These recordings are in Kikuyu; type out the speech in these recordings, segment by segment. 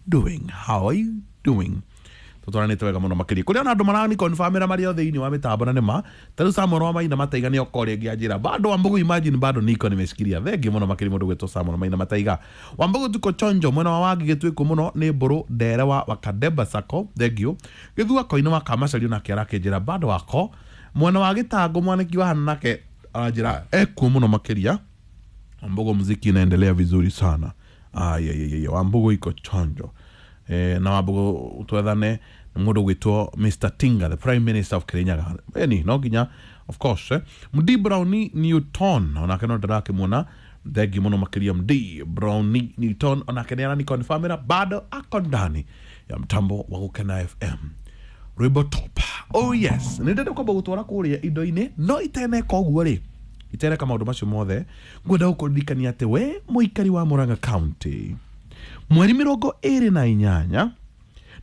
doing? How are you doing? Tũtwaranĩte wega mũno makĩria kũrĩa ona andũ marani confirmĩra marĩ o thĩinĩ wa mĩtambo na nĩma ta rĩu Samuel wa Maina Mataiga nĩ oka rĩngĩ anjĩra bado Wambugu, imagine bado niko nimeshikilia. Thengi mũno makĩria mũndũ gwĩtwo Samuel Maina Mataiga. Wambugu, tuko chonjo mwena wa Wangi gĩtuĩku mũno nĩ mbũrũ ndere wa Wakadeba Sacco. Thengio Gĩthua koinĩ wa Kamacario nake arakĩnjĩra bado wako mwena wa Gĩtangũ mwaniki wa hana nake aranjĩra ekuo mũno makĩria. Wambugu, muziki inaendelea vizuri sana. Ayayaya, Wambugu iko chonjo. Na Wambugu twethane nĩ mũndũ gwĩtwo Mr Tinga, the Prime Minister of Kirinyaga, eni no nginya of course. Md Brownie Newton onake no ndĩrakĩmuona. Thengi mũno makĩria Md Brownie Newton, onake nĩ arani confirmĩra bado ako ndani ya mtambo wa Gũkena FM rwĩmbo top. Oh yes, nĩ ndenda kwamba gũtwara kũrĩa indo-inĩ no iteneka ũguo rĩ itereka maũndũ macio mothe ngwenda gũkũririkania atĩ we mũikari wa Murang'a County, mweri 28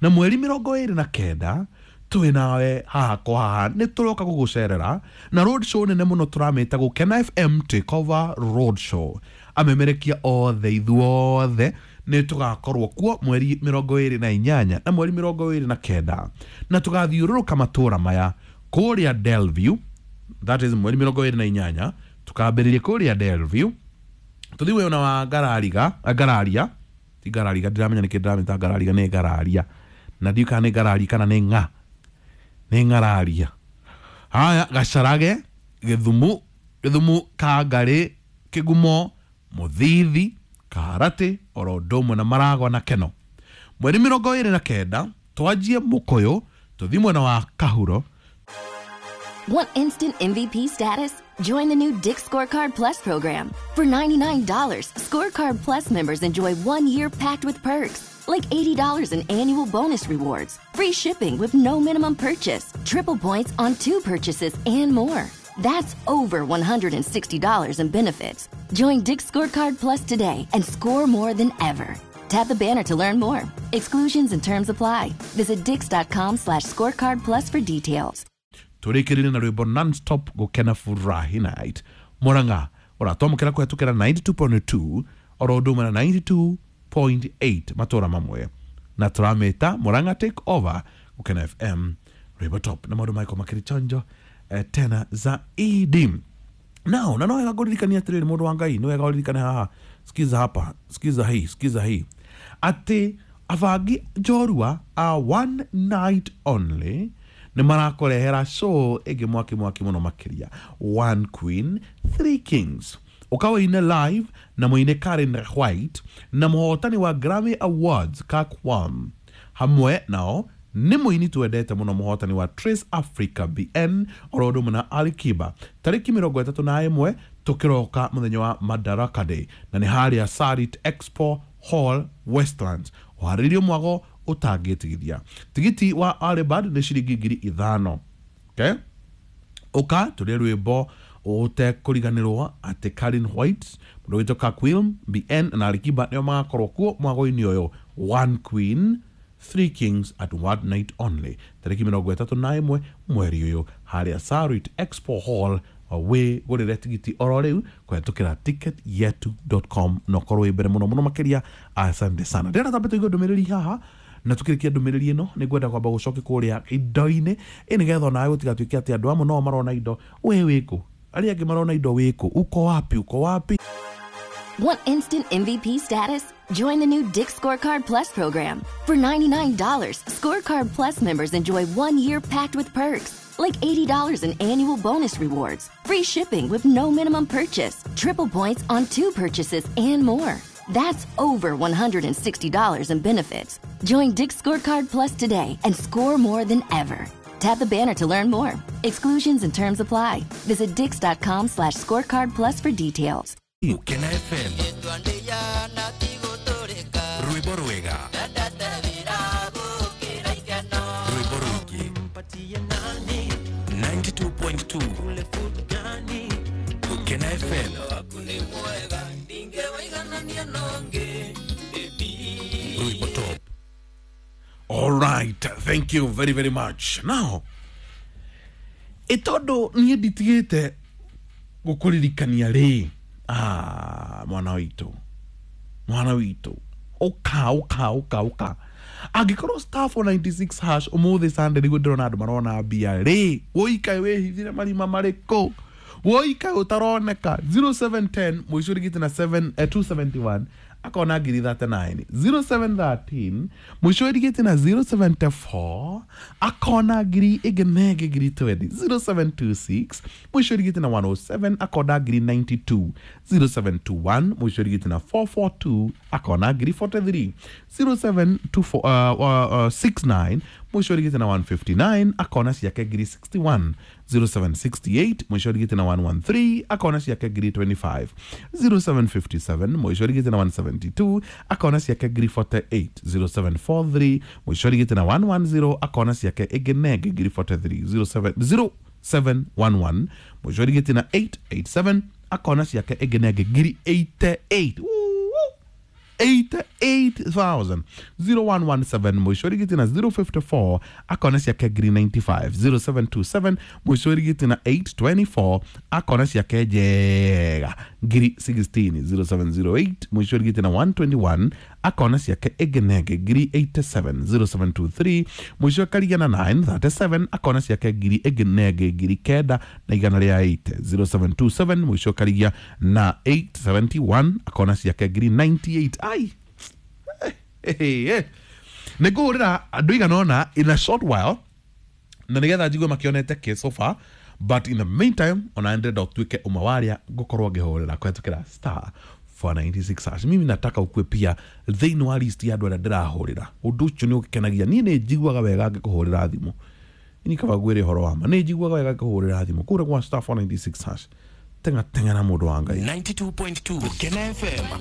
na mweri 29 twĩ nawe haha kwa haha nĩ tũroka gũgũcerera na road show nene mũno tũramĩta Gũkena FM Takeover Road Show. Amemerekia othe ithuothe nĩ tũgakorwo kuo mweri 28 na mweri 29 na tũgathiũrũrũka matũra maya kũrĩa Delview, that is mweri 28 tukambĩrĩria kũrĩa Delview, tũthiĩ wena wa Ngarariga, Ngararia, ti Ngarariga, ndiramenya nĩkĩ ndĩramĩta Ngarariga, nĩ Ngararia na ndiũ kana nĩ Ngarari kana nĩ ng'a nĩ Ng'araria. Haya, Gacarage, Gĩthumu, Gĩthumu, Kangarĩ, Kĩgumo, Mũthithi, Kaharatĩ, oro ũndũ ũmwe na Maragwa na Keno. Mweri 29 twanjie Mũkũyũ tũthiĩ mwena wa Kahuro. Want instant MVP status? Join the new Dick's Scorecard Plus program. For $99, Scorecard Plus members enjoy 1 year packed with perks, like $80 in annual bonus rewards, free shipping with no minimum purchase, triple points on two purchases, and more. That's over $160 in benefits. Join Dick's Scorecard Plus today and score more than ever. Tap the banner to learn more. Exclusions and terms apply. Visit dicks.com/scorecard plus for details. Tũrĩkĩrĩrie na rwĩmbo non-stop Gũkena Furahi Night Murang'a ũratwamũkĩra kũhetũkĩra 92.2 oro ũndũ ũmwe na 92.8 matũra mamwe na tũramĩta Murang'a Take Over Gũkena FM rwĩmbo top na maũndũ maiko makĩrĩ chonjo tena zaidi. Now na no wega ngũririkania atĩrĩrĩ, mũndũ wa Ngai, nĩ wega ũririkane haha, sikiza hapa, sikiza hii, sikiza hii, atĩ abangi njorua a one night only nĩ marakũrehera show ĩngĩ mwaki mwaki mũno makĩria, One Queen Three Kings, ũka live na mũine Karen White na mũhotani wa Grammy Awards Kakwam, hamwe nao nĩ mũini twendete mũno mũhotani wa Trace Africa BN oro ũndũ ũmwe na Ali Kiba, tarĩki 31 tũkĩroka mũthenya wa Madaraka Day, na nĩ harĩa Sarit Expo Hall, Westlands. Ũharĩrĩrio mwago ũtangĩtigithia. Tigiti wa early bird nĩ ciringi 5,000. Okay? Ũka tũrĩe rwĩmbo ũtekũriganĩrwo atĩ Karen White, mũndũ wĩtwo Kakwilm BN na Alikiba nĩo magakorwo kuo mwago-inĩ ũyũ, One Queen Three Kings at one night only, tarĩki 31 mweri ũyũ harĩa Sarit Expo Hall. Wĩ gũrĩre tigiti oro rĩu kũhetũkĩra ticketyetu.com na ũkorwo wĩ mbere mũno mũno makĩria. Asante sana. Ndĩrenda tambe tũigue ndũmĩrĩri haha na tukĩrĩkia ndũmĩrĩri ĩno nĩ ngwenda kwamba gũcoke kũrĩa indo-inĩ ĩ nĩgetha onawe gũtigatuĩke atĩ andũ amwe no marona indo we wĩkũ, arĩa angĩ marona indo wĩkũ, uko wapi, uko wapi? Want instant MVP status? Join the new Dick's Scorecard Plus program. For $99, Scorecard Plus members enjoy 1 year packed with perks, like $80 in annual bonus rewards, free shipping with no minimum purchase, triple points on two purchases, and more. That's over $160 in benefits. Join Dick's Scorecard Plus today and score more than ever. Tap the banner to learn more. Exclusions and terms apply. Visit dicks.com/scorecard plus for details. Gũkena FM rwĩmbo rwega rwĩmbo rũingĩ 92.2 Gũkena FM rwĩmbo top. All right, thank you very very much. Now, ĩtondũ niĩ nditigĩte gũkũririkania rĩ, ah, mwana witũ, mwana witũ. Ũka ũka ũka ũka. Angĩkorwo *496 hash ũmũthĩ Sunday nĩguo ndĩrona andũ marona mbia rĩ, wũikae wĩhithire marima marĩkũ? Wũikae ũtaroneka. 0710 mũico ũrigĩte na 7 271 akona ngiri 39. 0713 mũico ũrigĩte na 074 akona ngiri ĩngĩ na ĩngĩ ngiri 20. 0726 mũico ũrigĩte na 107 akona ngiri 92. 0721 mũico ũrigĩte na 442 akona ngiri 43. 0724 69 mũico ũrigĩte na 159 akona ciake ngiri 61. 0768 mũico ũrigĩte na 113 akona ciake ngiri 25. 0757 mũico ũrigĩte na 172 akona ciake ngiri 48. 0743 mũico ũrigĩte na 110 akona ciake ĩngĩ na ĩngĩ ngiri 43. 0711 mũico ũrigĩte na 887 akona ciake ĩngĩ na ĩngĩ ngiri 88. 88,000. 0117 mũico ũrigĩte na 054 akona ciake ngiri 95. 0727 mũico ũrigĩte na 824 akona ciake njega ngiri 16. 0708 mũico ũrigĩte na 121 akona ciake ĩngĩ na ĩngĩ ngiri 87. 0723 mũico ũkarigia na 937 akona ciake ngiri ĩngĩ na ĩngĩ ngiri kenda na igana rĩa 8. 0727 mũico ũkarigia na 871 akona ciake ngiri 98. Ai nä ngå hå rä ra andå igana ona in a short while na nä getha njigue makĩonete kä so far, but in the meantime ona ndĩrenda ũtuĩke ũmwe wa arĩa ngũkorwo ngĩhũrĩra kũhetũkĩra *496 hash. Mimi nataka ukue pia thĩinĩ wa list ya andũ arĩa ndĩrahũrĩra. Ũndũ ũcio nĩ ũkenagia niĩ, nĩ njiguaga wega ngĩkũhũrĩra thimũ. Ni kaba ngwĩre ũhoro wa ma, nĩ njiguaga wega ngĩkũhũrĩra thimũ kũrĩa gwa *496 hash. Tenga tenga na mũndũ wa Ngai. 92.2 Gukena FM.